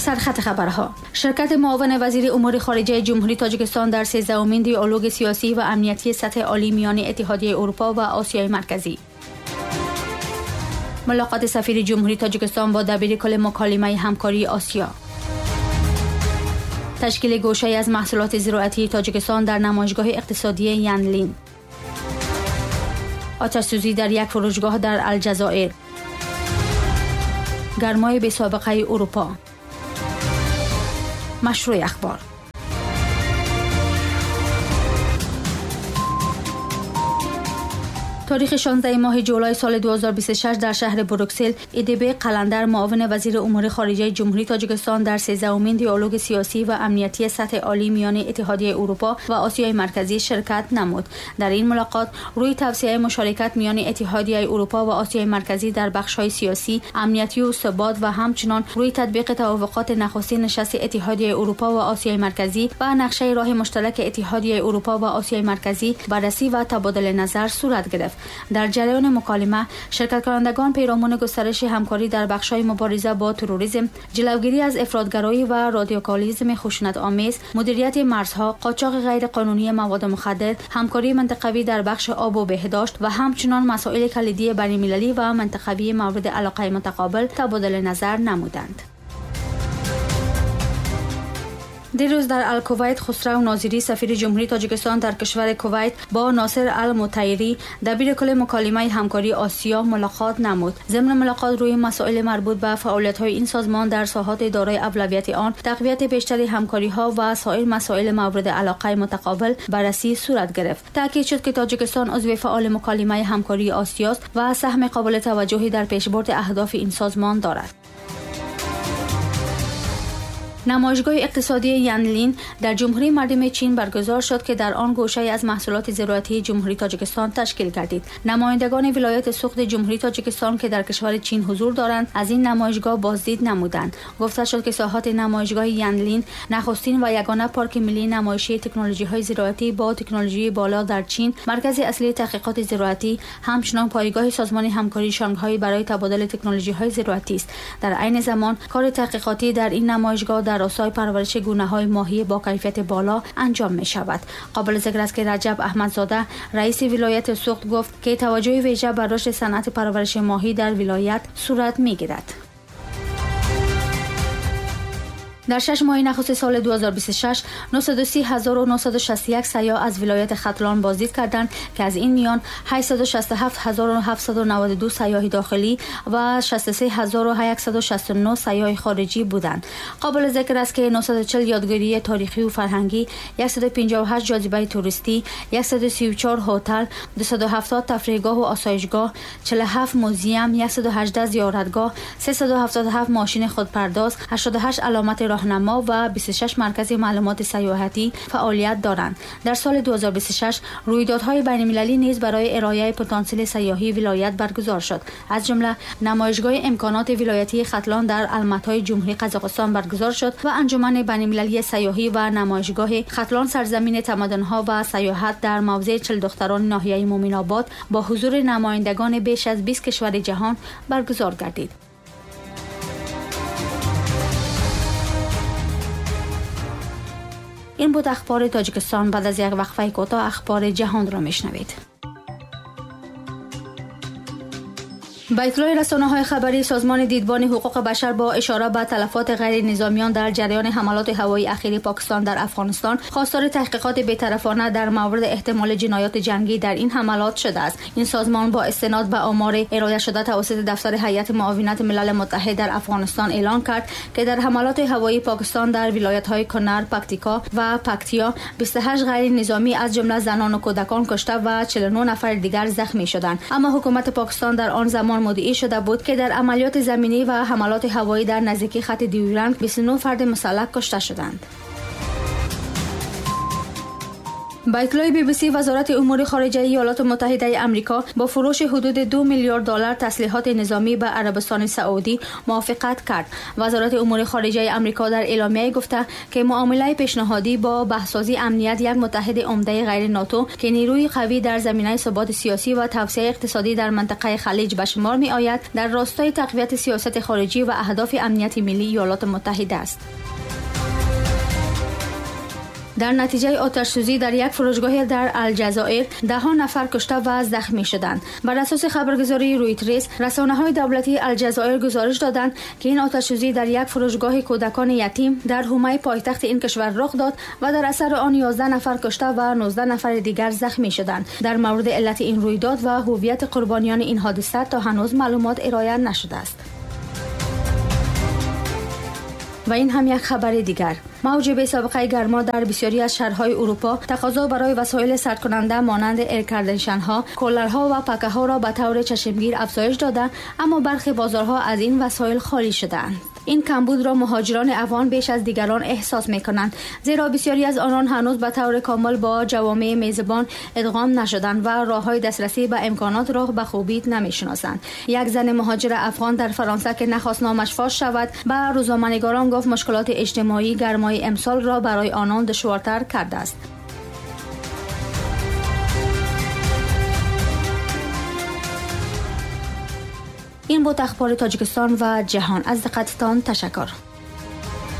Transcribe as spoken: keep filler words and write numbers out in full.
سرخط خبرها: شرکت معاون وزیر امور خارجه جمهوری تاجیکستان در سیزدهمین دیالوگ سیاسی و امنیتی سطح عالی میان اتحادیه اروپا و آسیای مرکزی. ملاقات سفیر جمهوری تاجیکستان با دبیر کل مکالمه همکاری آسیا. تشکیل گوشه‌ای از محصولات زراعتی تاجیکستان در نمایشگاه اقتصادی ینلین. آتش‌سوزی در یک فروشگاه در الجزایر. گرمای بی سابقه اروپا. مشروع اخبار. تاریخ شانزده ماه جولای سال دو هزار و بیست و شش در شهر بروکسل، ایدبی قلندر معاون وزیر امور خارجه جمهوری تاجیکستان در سیزدهمین دیالوگ سیاسی و امنیتی سطح عالی میان اتحادیه اروپا و آسیای مرکزی شرکت نمود. در این ملاقات روی توسعه مشارکت میان اتحادیه اروپا و آسیای مرکزی در بخش‌های سیاسی، امنیتی و ثبات و همچنان روی تطبیق توافقات نخستین نشست اتحادیه اروپا و آسیای مرکزی و نقشه راه مشترک اتحادیه اروپا و آسیای مرکزی بررسی و تبادل نظر صورت گرفت. در جریان مکالمه شرکت کنندگان پیرامون گسترش همکاری در بخش‌های مبارزه با تروریسم، جلوگیری از افراط‌گرایی و رادیکالیسم خشونت‌آمیز، مدیریت مرزها، قاچاق غیرقانونی مواد مخدر، همکاری منطقوی در بخش آب و بهداشت و همچنان مسائل کلیدی بین‌المللی و منطقوی مورد علاقه متقابل تبادل نظر نمودند. دیروز در الکویت، خسرو ناظری سفیر جمهوری تاجیکستان در کشور کویت با ناصر المطیری دبیر کل مکالمه همکاری آسیا ملاقات نمود. ضمن ملاقات روی مسائل مربوط به فعالیت‌های این سازمان در ساحات دارای اولویت آن، تقویت بیشتر همکاری‌ها و سایر مسائل مورد علاقه متقابل بررسی صورت گرفت. تاکید شد که تاجیکستان عضو فعال مکالمه همکاری آسیا است و سهم قابل توجهی در پیشبرد اهداف این سازمان دارد. نمایشگاه اقتصادی ینلین در جمهوری مردم چین برگزار شد که در آن گوشه از محصولات زراعتی جمهوری تاجیکستان تشکیل گردید. نمایندگان ولایت سغد جمهوری تاجیکستان که در کشور چین حضور دارند از این نمایشگاه بازدید نمودند. گفته شد که ساحات نمایشگاه ینلین نخستین و یگانه پارک ملی نمایشی تکنولوژی‌های زراعتی با تکنولوژی بالا در چین، مرکز اصلی تحقیقات زراعتی، همچنین پایگاه سازمان همکاری شانگهای برای تبادل تکنولوژی‌های زراعتی است. در عین زمان کار تحقیقاتی در این نمایشگاه در راستای پرورش گونه‌های ماهی با کیفیت بالا انجام می شود. قابل ذکر است که رجب احمدزاده رئیس ولایت سغد گفت که توجه ویژه بر رشد صنعت پرورش ماهی در ولایت صورت می گیرد. در شش ماه نخست سال دو هزار و بیست و شش، نهصد و سی هزار و نهصد و شصت و یک سیاح از ولایت ختلان بازدید کردند که از این میان هشتصد و شصت و هفت هزار و هفتصد و نود و دو سیاح داخلی و شصت و سه هزار و یکصد و شصت و نه سیاح خارجی بودند. قابل ذکر است که نهصد و چهل یادگاری تاریخی و فرهنگی، صد و پنجاه و هشت جاذبه توریستی، صد و سی و چهار هتل، دویست و هفتاد تفریحگاه و آسایشگاه، چهل و هفت موزیم، صد و هجده زیارتگاه، سیصد و هفتاد و هفت ماشین خودپرداز، هشتاد و هشت علامت راهنما و بیست و شش مرکز معلومات سیاحتی فعالیت دارند. در سال دو هزار و بیست و شش رویدادهای بین‌المللی نیز برای ارائه پتانسیل سیاحی ولایت برگزار شد. از جمله نمایشگاه امکانات ولایتی ختلان در الماتای جمهوری قزاقستان برگزار شد و انجمن بین‌المللی سیاحی و نمایشگاه ختلان سرزمین تمدن‌ها و سیاحت در موضع چهل دختران ناحیه مومن‌آباد با حضور نمایندگان بیش از بیست کشور جهان برگزار گردید. این بود اخبار تاجیکستان. بعد از یک وقفه کوتاه اخبار جهان را میشنوید. با اطلاع رسانه‌های خبری، سازمان دیدبان حقوق بشر با اشاره به تلفات غیر نظامیان در جریان حملات هوایی اخیر پاکستان در افغانستان، خواستار تحقیقات بی‌طرفانه در مورد احتمال جنایات جنگی در این حملات شده است. این سازمان با استناد به آمار ارائه شده توسط دفتر هیئت معاونت ملل متحد در افغانستان اعلان کرد که در حملات هوایی پاکستان در ولایت‌های کنر، پکتیکا و پکتیا بیست و هشت غیر نظامی از جمله زنان و کودکان کشته و چهل و نه نفر دیگر زخمی شدند. اما حکومت پاکستان در آن زمان مدعی شده بود که در عملیات زمینی و حملات هوایی در نزدیکی خط دیورند بیست و نه فرد مسلح کشته شدند. با اطلاع بی بی سی، وزارت امور خارجه ایالات متحده آمریکا با فروش حدود دو میلیارد دلار تسلیحات نظامی به عربستان سعودی موافقت کرد. وزارت امور خارجه آمریکا در اعلامیه گفته که معامله پیشنهادی با بهسازی امنیت یک متحد عمده غیر ناتو که نیروی قوی در زمینه ثبات سیاسی و توسعه اقتصادی در منطقه خلیج به شمار می آید، در راستای تقویت سیاست خارجی و اهداف امنیت ملی ایالات متحده است. در نتیجه آتش‌سوزی در یک فروشگاه در الجزایر ده ها نفر کشته و زخمی شدند. بر اساس خبرگزاری رویترز، رسانه‌های دولتی الجزایر گزارش دادند که این آتش‌سوزی در یک فروشگاه کودکان یتیم در حومه پایتخت این کشور رخ داد و در اثر آن یازده نفر کشته و نوزده نفر دیگر زخمی شدند. در مورد علت این رویداد و هویت قربانیان این حادثه تا هنوز معلومات ارائه نشده است. و این هم یک خبر دیگر. موج بی سابقه گرما در بسیاری از شهرهای اروپا تقاضا برای وسایل سرد کننده مانند air condition ها، کولرها و پکه ها را به طور چشمگیر افزایش داده، اما برخی بازارها از این وسایل خالی شده‌اند. این کمبود را مهاجران افغان بیش از دیگران احساس می‌کنند، زیرا بسیاری از آنان هنوز به طور کامل با جوامع میزبان ادغام نشدند و راه‌های دسترسی به امکانات را به خوبی نمی‌شناسند. یک زن مهاجر افغان در فرانسه که نخواست نامش فاش شود، به روزنامه‌نگاران گفت مشکلات اجتماعی گرمای امسال را برای آنان دشوارتر کرده است. این بود اخبار تاجیکستان و جهان. از دقتتان تشکر.